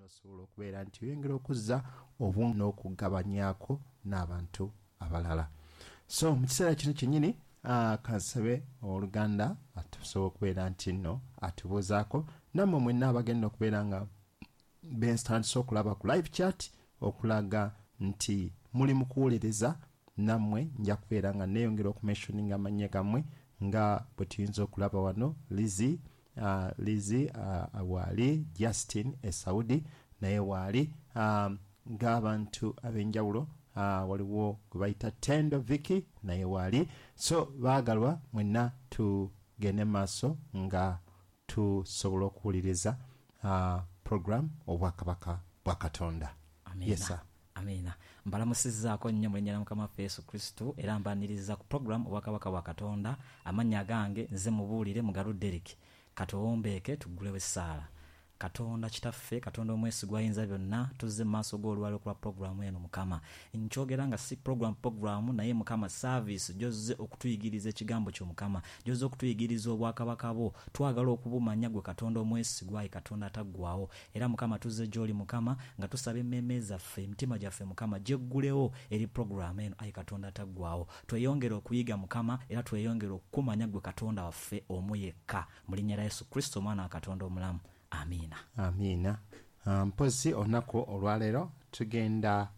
N'osobola okubeera nti oyongera okuzza obu n'okugabanyaako n'abantu abalala. So mu kiseera kino kyennyini, kansabe owooluganda atusobola okubeera nti nno atubuuzaako, nammwe mwenna abagenda okubeera nga bentandise okulaba ku live chat okulaga nti muli mu kuwuliriza, nammwe nja kubeera nga neeyongera okumentioninga amannya gammwe nga bwe tuyinza okulaba wano Lizzy, Lizzy waali, Justin e Saudi naye waali, ng'abantu ab'enjawulo, waliwo gwe bayita Tendo Vicky naye waali. So baagalwa mwenna tugende mu maaso nga tusobola okuwuliriza program Obwakabaka bwa Katonda. Yes Amiina. sir. Amiina. Mbalamusizzaako nnyo mu linnya lya Mukama waffe Yesu Kristo era mbaniriza ku program Obwakabaka bwa Katonda. Amannya agange nze Mubuulire Mugalu Derrick. Katuwombeeke tuggulewo essaala. Katonda Kitaffe, Katonda omwesigwa ayinza byonna, tuzze mu maaso go olwaleero ku lwa pulogulaamu eno, Mukama. Nkyogera nga si pulogulaamu bupulogulaamu, naye, Mukama, saaviisi gy'ozze okutuyigiriza Ekigambo Kyo, Mukama, gy'ozze okutuyigiriza Obwakabaka Bwo. Twagala okubumanya, Ggwe Katonda omwesigwa, ayi Katonda Ataggwaawo. Era, Mukama, tuzze gy'Oli, Mukama, nga tusaba emmeeme zaffe, emitima gyaffe, Mukama, gyeggulewo eri pulogulaamu eno, ayi Katonda Ataggwaawo. Tweyongere okuyiga, Mukama, era tweyongere okukumanya Ggwe Katonda waffe omu yekka. Mu Linnya lya Yesu Kristo, Omwana wa Katonda omulamu. Amiina. Amiina. Mpozi olunaku olwaleero tugenda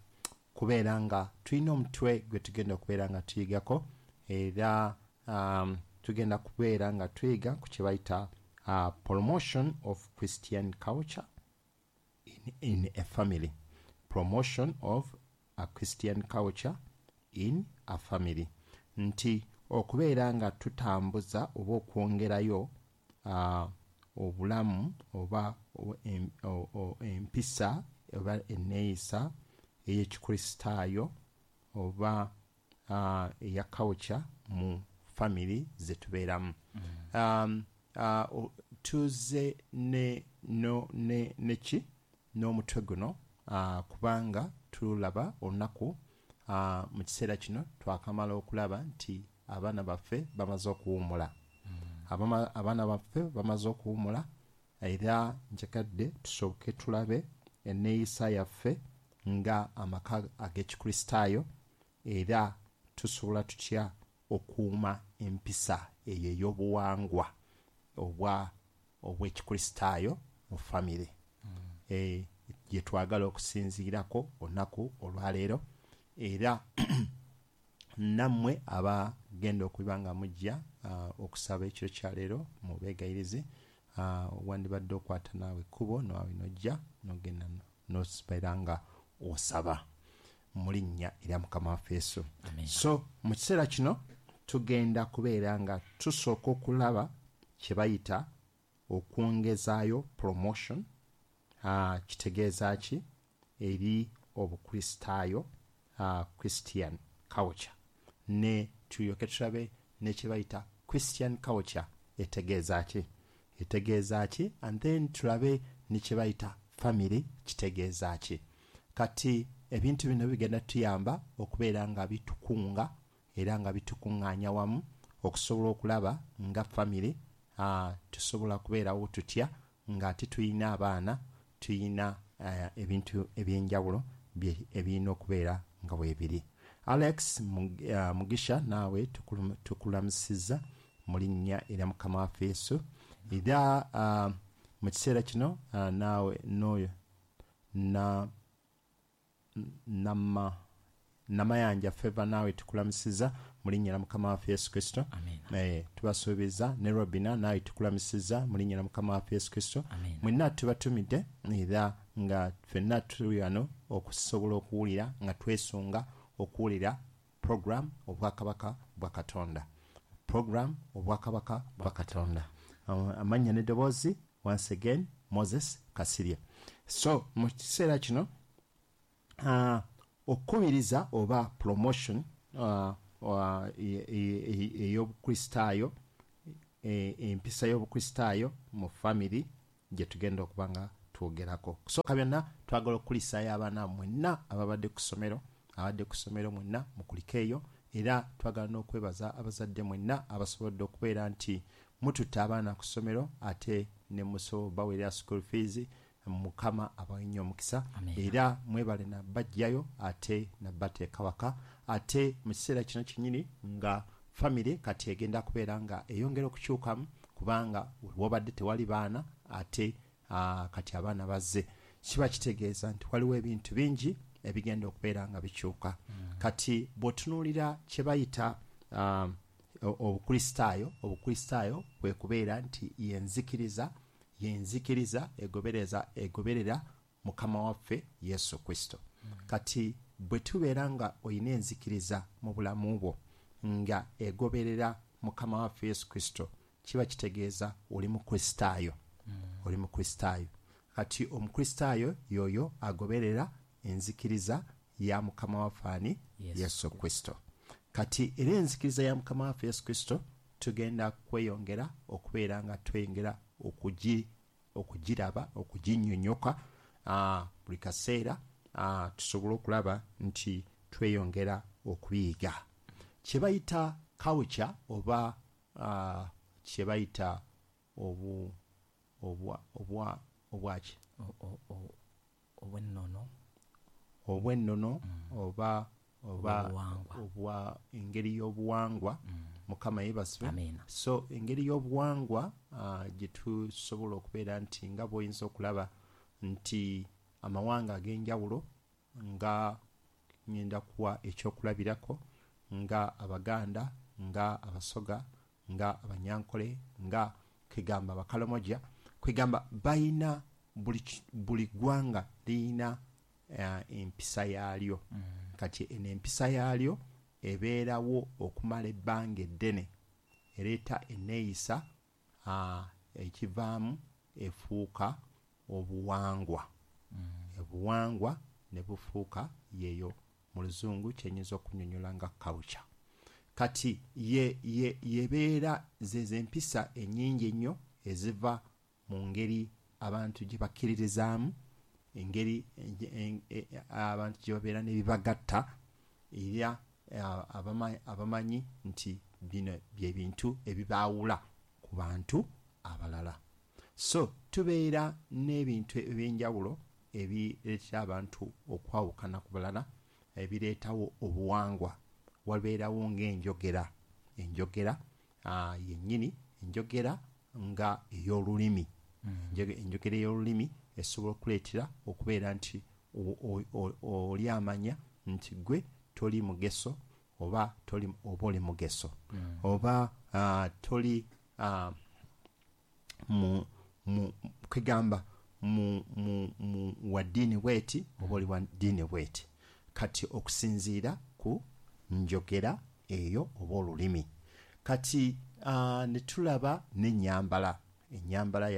kubeera nga tulina omutwe gwe tugenda okubeera nga tuyigako, era tugenda kubeera nga tuyiga ku kye bayita promotion of Christian culture in a family. Promotion of a Christian culture in a family. Nti okubeera nga tutambuza oba okwongerayo obulamu oba empisa oba enneeyisa ey'Ekikristaayo oba eya culture mu family ze tubeeramu. Tuze ne, no, ne, ne ki n'omutwe guno kubanga tulaba olunaku mu kiseera kino twakamala okulaba nti abaana baffe bamaze okuwummula. Abaana baffe bamaze okuwummula, era njagadde tusooke tulabe enneeyisa yaffe nga amaka ag'Ekikristaayo, era tusobola tutya okuuma empisa eyo ey'obuwangwa obwa obw'Ekikristaayo mu famire gye twagala okusinziirako olunaku olwaleero. Era nammwe abagenda okuba nga mujja okusaba ekiro kya leero mu beegayirizi, wandibadde okwata naawe ekkubo naawe n'ojja n'ogenda n'obeera nga osaba mu linnya erya Mukama waffe Yesu. So mu kiseera kino tugenda kubeera nga tusooka okulaba kye bayita okwongezaayo promotion, kitegeeza ki eri Obukristaayo, Christian culture, ne tulyoke tulabe ne kye bayita Christian culture etegeeza ki, etegeeza ki, and then tulabe ne kye bayita family kitegeeza ki. Kati ebintu bino bigenda tuyamba okubeera nga bitukunga era nga bitukungaanya wamu okusobola okulaba nga family tusobola kubeerawo tutya ng'ate tulina abaana, tulina ebintu eby'enjawulo ebirina okubeera nga weebiri. Alex Mugisha naawe tukulamusizza mu linnya erya Mukama waffe Yesu. Era mu kiseera kino naawe n'oyo na Nama Namayanja Favor naawe tukulamusiza mu linnya lya Mukama waffe Yesu Kristo. Tubasuubiza ne Robina naawe tukulamusiza mu linnya lya Mukama waffe Yesu Kristo. Mwenna tubatumidde era nga ffenna tuli ghano okusobola okuwulira nga twesunga okuwulira program Obwakabaka bwa Katonda. Program Obwakabaka bwa Katonda. Amannya n'eddoboozi once again Moses Kasirye. So mu kiseera kino okukubiriza oba promotion ey'Obukristaayo, empisa y'Obukristaayo mu family gye tugenda okuba nga twogerako. Okusooka byonna twagala okukulisaayo abaana mwenna ababadde ku ssomero, abadde ku ssomero mwenna mukulikeeyo, era twagala n'okwebaza abazadde mwenna abasobodde okubeera nti mututte abaana ku ssomero ate ne musobola obaweerera school fees. Mukama abawe nnyo omukisa. Era mwebale nabajjayo ate nabateeka waka. Ate mu kiseera kino kinnyini nga famire kati egenda kubeera nga eyongera okukyukamu, kubanga wobadde tewali baana, ate kati abaana bazze. Kiba kitegeeza nti waliwo ebintu bingi ebigenda okubeera nga bikyuka. Kati bw'otunuulira kye bayita obukristaayo, obukristaayo kwe kubeera nti yenzikiriza egoberera Mukama waffe Yesu Kristo. Kati bwe tubeera nga olina enzikiriza mu bulamu bwo nga egoberera Mukama waffe Yesu Kristo, kiba kitegeeza oli mukristaayo. Oli mukristaayo. Kati omukristaayo yoyo agoberera enzikiriza ya Mukama waffe ani? Yesu Kristo. Kati era enzikiriza ya Mukama waffe Yesu Kristo tugenda kweyongera okubeera nga tweyongera okugiraba, okuginnyonnyoka buli kaseera, tusobole okulaba nti tweyongera okubiyiga. Kye bayita culture oba kye bayita obwaki? Obwennono oba obwa engeri y'obuwangwa. Mukama yeebazibwe. So engeri y'obuwangwa gye tusobola okubeera nti nga bw'oyinza okulaba nti amawanga ag'enjawulo, nga ngenda kuwa ekyokulabirako nga Abaganda, nga Abasoga, nga Abanyankole, nga kwegamba Abakalamoja, kwegamba bayina buli ggwanga liyina empisa yaalyo. Kati eno empisa yaalyo ebeerawo okumala ebbanga eddene, ereeta enneeyisa ekivaamu efuuka obuwangwa. Obuwangwa ne bufuuka yeeyo mu Luzungu kyenyinza okunnyonnyola nga culture. Kati yebeera ze empisa ennyingi ennyo eziva mu ngeri abantu gye bakkiririzaamu, engeri abantu gye babeera n'ebibagatta, era abamanyi nti bino bye bintu ebibaawula ku bantu abalala. So tubeera n'ebintu ebyenjawulo ebireetera abantu okwawukana ku balala, ebireetawo obuwangwa. Wabeerawo ng'enjogera, enjogera yennyini, enjogera nga ey'olulimi. Enjogera ey'olulimi esobola okuleetera okubeera nti oli amanya nti gwe toli mugeso oba oba oli mugeso, oba toli kwegamba mu wa ddiini bweti oba oli wa ddiini bweti. Kati okusinziira ku njogera eyo oba olulimi. Kati ne tulaba n'ennyambala. Ennyambala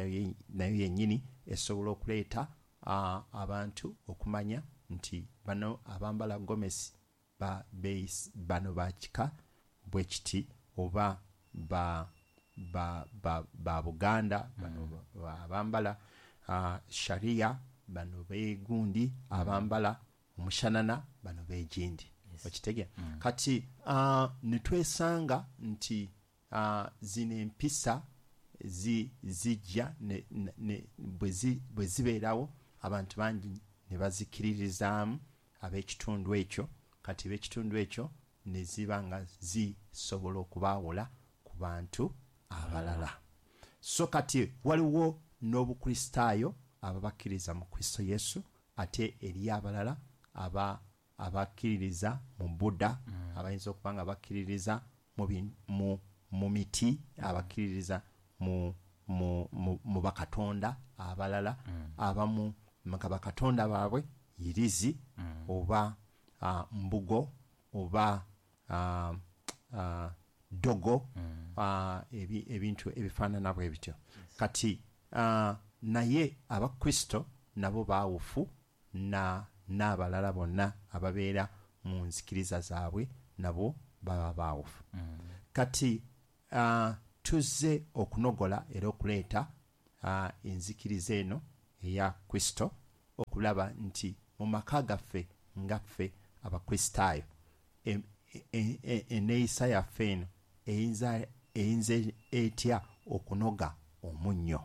nayo yennyini esobola okuleeta abantu okumanya nti bano abambala gomesi bano ba kika bwe kiti, oba ba Buganda, bano abambala sharia, bano beegundi, abambala omushanana, bano beegindi. Okitegeera? Kati ne twesanga nti zino empisa zijja bwe zibeerawo abantu bangi ne bazikiririzaamu ab'ekitundu ekyo. Kati ab'ekitundu ekyo ne ziba nga zisobola okubaawula ku bantu abalala. So kati waliwo n'obukristaayo ababakkiriza mu Kristo Yesu, ate eri abalala abakkiririza mu Buddha, abayinza okuba nga bakkiririza mu miti, abakkiririza mu bakatonda abalala, abamu nga bakatonda baabwe yirizi oba mbugo oba dogo, ebintu ebifaanana bwe bityo. Kati naye Abakristo nabo baawufu n'abalala bonna ababeera mu nzikiriza zaabwe, nabo baba baawufu. Kati tuzze okunogola era okuleeta enzikiriza eno eya Kristo, okulaba nti mu maka gaffe nga ffe Abakristaayo, enneeyisa yaffe eno eyinza etya okunoga omunnyo.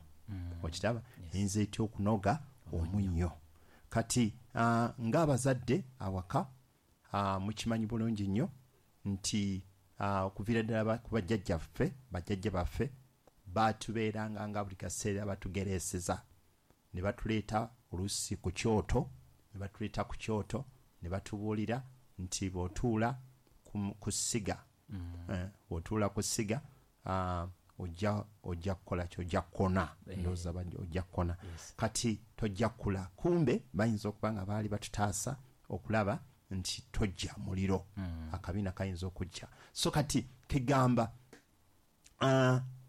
Okiraba? Eyinza etya okunoga Omunnyo. Kati ng'abazadde awaka, mukimanyi bulungi nnyo nti okuviira ddala ku bajjajjaffe, bajjajja baffe batubeeranga nga buli kaseera batugereeseza ne batuleeta oluusi ku kyoto, ne batuleeta ku kyoto ne batubuulira nti bw'otuula ku ssiga, bw'otuula ku ssiga, ojja kukola ki? Ojja kukona. Ndowooza ojja kukona. Kati tojja kukula. Kumbe bayinza okuba nga baali batutaasa okulaba nti tojja muliro, akabiina kayinza okujja. So kati kegamba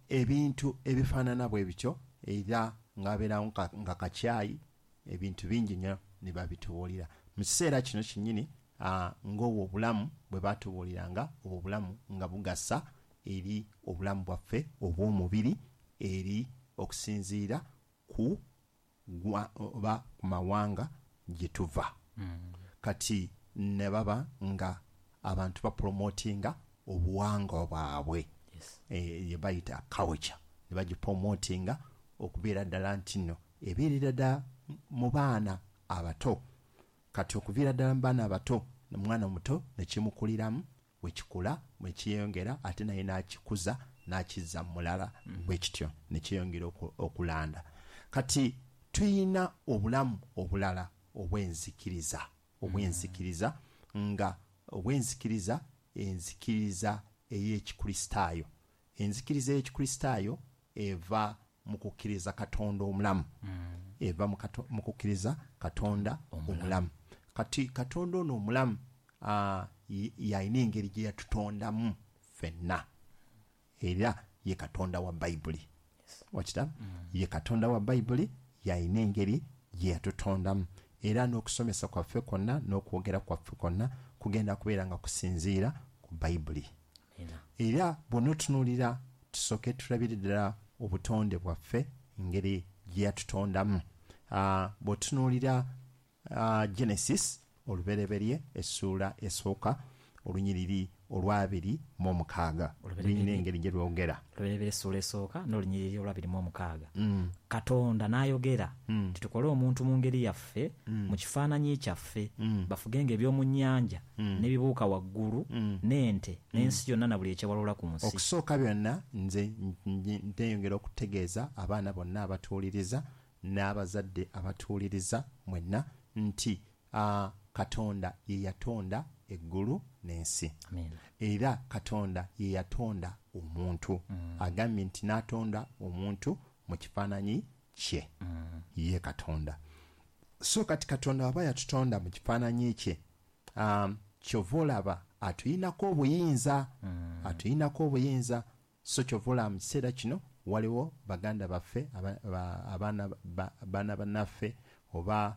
ebintu ebifaanana bwe bityo, era ng'abeerawo nga kakyayi, ebintu bingi nnyo ne babitubuulira mu kiseera kino kinnyini, ng'obwo obulamu bwe batubuuliranga, obwo obulamu nga bugasa eri obulamu bwaffe obw'omubiri, eri okusinziira ku oba ku mawanga gye tuva. Kati ne baba nga abantu bapromotinga obuwangwa bwabwe, ye bayita culture, ne bagipromotinga okubeera ddala nti nno ebeerera ddala mu baana abato. Kati okuviira ddala mu baana abato, omwana omuto ne kimukuliramu, bwekikula bwekiyongera, ate naye n'akikuza n'akizza mu mulala, bwe kityo ne kyeyongera okulanda. Kati tuyina obulamu obulala obw'enzikiriza, obw'enzikiriza nga obw'enzikiriza, enzikiriza ey'Ekikristaayo. Enzikiriza ey'Ekikristaayo eva mu kukkiriza Katonda omulamu, eva mu kukkiriza Katonda omulamu. Kati Katonda ono omulamu, yalina engeri gye yatutondamu ffenna, era ye Katonda wa Bayibuli. Okiraba? Ye Katonda wa Bayibuli, yalina engeri gye yatutondamu, era n'okusomesa kwaffe kwonna n'okwogera kwaffe kwonna kugenda kubeera nga kusinziira ku Bayibuli. Era bw'onootunuulira, tusooke tulabire ddala obutonde bwaffe, engeri gye yatutondamu. Bw'otunuulira Genesis, Olubereberye, essuula esooka, olunyiriri olw'26, lulina engeri gye lwogera. Olubereberye essuula esooka n'olunyiriri olw'26. Katonda n'ayogera nti, "Tukole omuntu mu ngeri yaffe, mu kifaananyi kyaffe, bafugenga eby'omu nnyanja n'ebibuuka waggulu n'ente n'ensi yonna na buli ekyewalula ku nsi." Okusooka byonna, nze neyongera okutegeeza abaana bonna abatuwuliriza n'abazadde abatuwuliriza mwenna nti Katonda ye yatonda eggulu n'ensi. Era Katonda ye yatonda omuntu. Agambye nti n'atonda omuntu mu kifaananyi kye, ye Katonda. So kati Katonda aba yatutonda mu kifaananyi kye, kyova olaba atuyinako obuyinza, atuyinako obuyinza. So kyova olaba mu kiseera kino waliwo baganda baffe, abaana bannaffe oba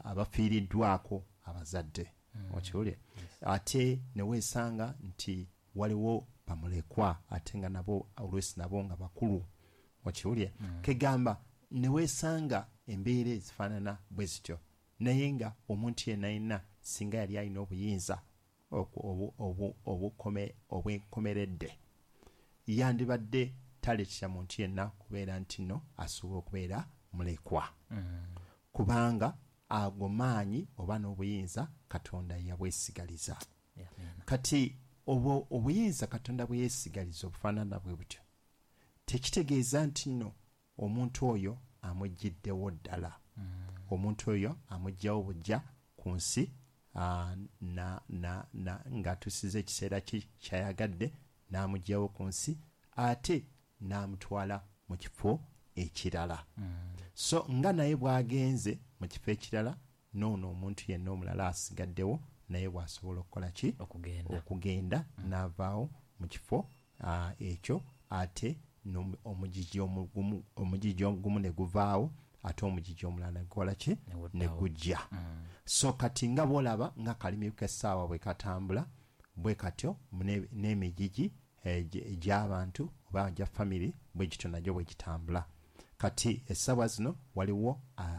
abafiiriddwako abazadde, okiwulire, ate ne weesanga nti waliwo bamulekwa, ate nga nabo oluusi nabo nga bakulu, okiwulire. Kegamba ne weesanga embeera ezifaanana bwe zityo, naye nga omuntu yenna yenna singa yali alina obuyinza obwenkomeredde, yandibadde taleetera muntu yenna kubeera nti nno asobola okubeera mulekwa, kubanga ago maanyi oba n'obuyinza Katonda yabwesigaliza. Kati obwo obuyinza Katonda bwe yeesigaliza obufaanana bwe butyo, tekitegeeza nti nno omuntu oyo amuggyiddewo ddala. Omuntu oyo amuggyawo bujja ku nsi, ng'atuusiza ekiseera kye kyayagadde, n'amuggyawo ku nsi ate n'amutwala mu kifo ekirala. So nga naye bw'agenze mu kifo ekirala, n'ono omuntu yenna omulala asigaddewo naye bw'asobola okukola ki? Okugenda. Okugenda n'avaawo mu kifo ekyo, ate omugigi ogumu ne guvaawo, ate omugigi omulala ne gukola ki? Ne gujja. So kati nga bw'olaba nga kalimi k'essaawa bwe katambula bwe katyo, n'emigigi egy'abantu oba gya famire bwe gityo nagyo bwe gitambula. Kati essaawa zino waliwo